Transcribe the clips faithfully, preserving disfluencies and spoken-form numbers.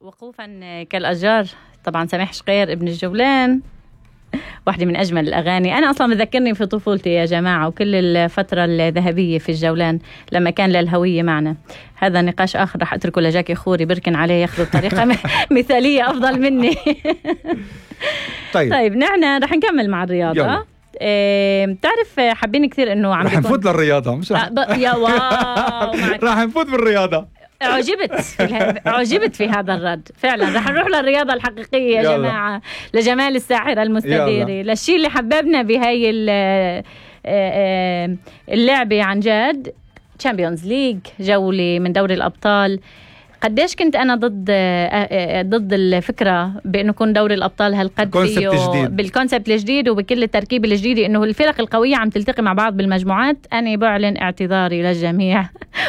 وقوفا كالأشجار. طبعا سميح شقير ابن الجولان، واحدة من أجمل الأغاني. أنا أصلا بذكرني في طفولتي يا جماعة، وكل الفترة الذهبية في الجولان لما كان للهوية معنا. هذا نقاش آخر رح أتركه لجاكي خوري، بركن عليه ياخذوا بطريقة مثالية أفضل مني. طيب طيب نحن رح نكمل مع الرياضة. إيه بتعرف حابين كثير إنه عم رح نفوت للرياضة، مش رح يا واو رح نفوت بالرياضة. أعجبت في أعجبت في هذا الرد فعلا. رح نروح للرياضة الحقيقية يا جماعة، لجمال الساحرة المستديرة، للشيء اللي حببنا بهاي اللعبة عن جد. تشامبيونز ليج، جولة من دوري الأبطال. قديش كنت أنا ضد ضد الفكرة بأنه يكون دوري الأبطال هالقد فيه بالكونسبت الجديد وبكل التركيب الجديد، إنه الفرق القوية عم تلتقي مع بعض بالمجموعات. أنا بعلن اعتذاري للجميع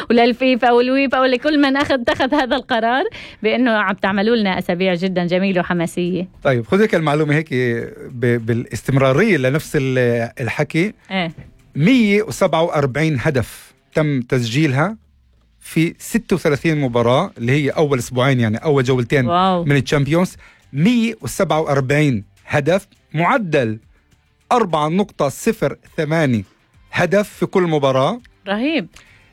وللفيفا والويفا ولكل من أخذ اتخذ هذا القرار، بأنه عم تعملوا لنا أسابيع جدا جميلة وحماسية. طيب خذ هيك المعلومة هيك بالاستمرارية لنفس الحكي. إيه؟ مية وسبعة وأربعين هدف تم تسجيلها في ستة وثلاثين مباراة، اللي هي أول أسبوعين يعني أول جولتين واو. من الشامبيونز. مية وسبعة وأربعين هدف، معدل أربعة نقطة صفر ثمانية هدف في كل مباراة. رهيب.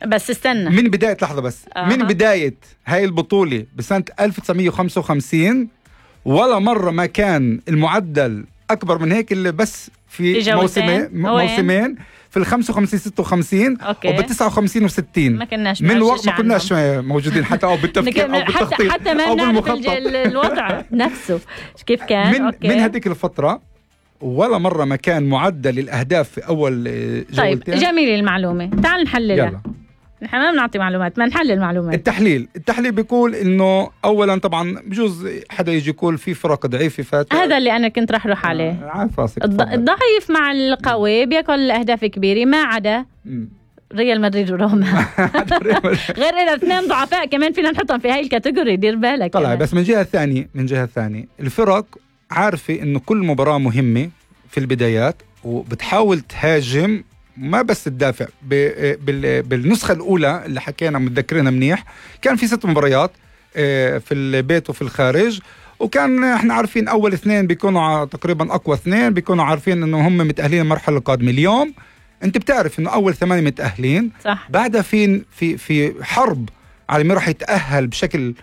بس استنى من بداية لحظة بس آه. من بداية هاي البطولة بسنة ألف وتسعمية وخمسة وخمسين ولا مرة ما كان المعدل أكبر من هيك، اللي بس في, في موسمين موسمين في الخمسة وخمسين ستة وخمسين وبالتسعة وخمسين وستين. ما كناش من وقت ما كناش موجودين حتى أو بالتفكير أو بالتخطيط حتى ما نعرف الوضع نفسه كيف كان. من, أوكي. من هذيك الفترة ولا مرة ما كان معدل الأهداف في أول جولتين. طيب جميل المعلومة، تعال نحللها. نحن ما بنعطي معلومات، ما نحلل معلومات. التحليل التحليل بيقول إنه أولا طبعا بجوز حدا يجي يقول في فرق ضعيفة فات، هذا اللي أنا كنت رح روح عليه. آه عارف راسك. الضعيف مع القوي بياكل أهداف كبيرة، ما عدا ريال مدريد وروما. غير إذا اثنين ضعفاء كمان فينا نحطهم في هاي الكاتيجوري، دير بالك. طلع بس من جهة ثانية من جهة ثانية الفرق عارفة إنه كل مباراة مهمة في البدايات، وبتحاول تهاجم ما بس تدافع. بالنسخة الأولى اللي حكينا متذكرينها منيح، كان في ست مباريات في البيت وفي الخارج، وكان احنا عارفين أول اثنين بيكونوا تقريبا أقوى اثنين، بيكونوا عارفين إنه هم متأهلين المرحلة القادمة. اليوم أنت بتعرف إنه أول ثمانية متأهلين، صح. بعدها في في في حرب على مين راح يتأهل بشكل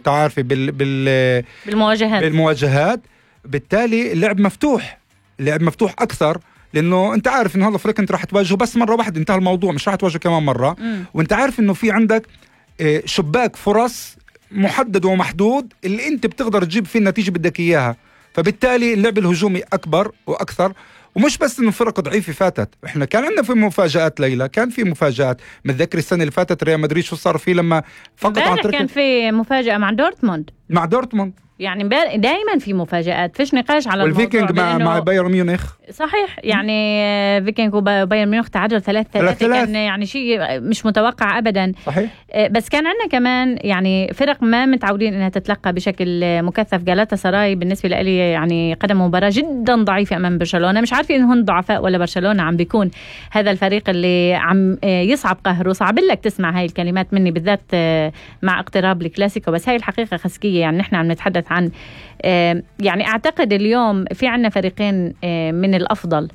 تعرفي بال بال بالمواجهات بالمواجهات بالتالي اللعب مفتوح، اللعب مفتوح أكثر، لأنه أنت عارف إنه هذا الفريق أنت راح تواجهه بس مرة واحدة، انتهى الموضوع، مش راح تواجهه كمان مرة. م. وأنت عارف إنه في عندك شباك فرص محدد ومحدود اللي أنت بتقدر تجيب فيه النتيجة بدك إياها، فبالتالي اللعب الهجومي أكبر وأكثر. ومش بس إنه فرق ضعيفة فاتت، إحنا كان عندنا في مفاجآت ليلى، كان في مفاجآت. متذكر السنة اللي فاتت ريال مدريد شو صار فيه لما فقط عن طريق كان في مفاجأة مع دورتموند مع دورتموند يعني دائما في مفاجآت، فيش نقاش على الموضوع. والفيكينج مع مع بايرن ميونخ، صحيح، يعني فيكينج وبايرن ميونخ تعادل ثلاثة ثلاثة، كان يعني شيء مش متوقع أبدا. صحيح. بس كان عندنا كمان يعني فرق ما متعودين إنها تتلقى بشكل مكثف. جالاتا سراي بالنسبة لي يعني قدم مباراة جدا ضعيفة أمام برشلونة، مش عارفة إنهم ضعفاء ولا برشلونة عم بيكون هذا الفريق اللي عم يصعب قهره. صعب لك تسمع هاي الكلمات مني بالذات مع اقتراب الكلاسيكو، بس هاي الحقيقة خسكية. يعني نحن عم نتحدث عن يعني أعتقد اليوم في عنا فريقين من الأفضل